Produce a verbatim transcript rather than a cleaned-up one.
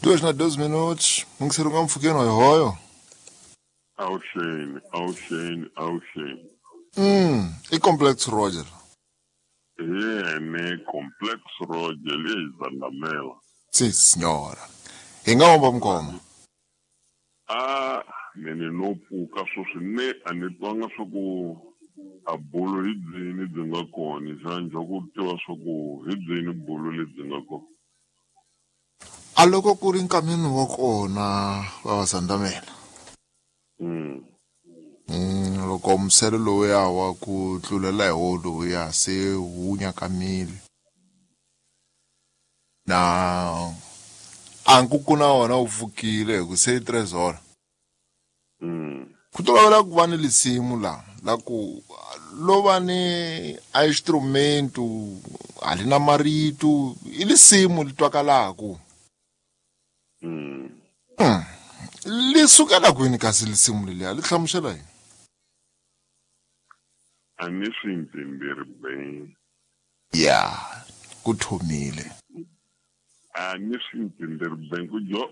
Duas na doze minutos, mungiseri nga mpfhukeni hoyohoyo. Awuxeni, awuxeni, awuxeni. Mm, i Complex Roger. Hi yene Complex Roger leyi Zandamela. Si signora. Hi nga omba mukoma. A mene no pfuka sweswi ne a ni twanga swa ku a bulo hi byini byi nga kona xana ku tiva swa ku hi byini bulo lebyi nga kona. A loko ku ri nkameni wa kona va va Zandamela. Mm. Mm, loko musele lowuya wa ku tlulela hi wo lowuya se wu nyakamile. Na a nkuku na wona wu pfukile hi ku se i trezora. Mm. Ku tolovela ku va ni lisimu la la ku lo va ni a instrumento a li na marito i lisimu li twakalaku. Mm. Mm. Li sukela kwini kasi lisimu leliya li hlamusela yini? A ni swi mpfimbirhi beng. Ya, ku thomile. A ni swi mpfimbirhi beng ku jo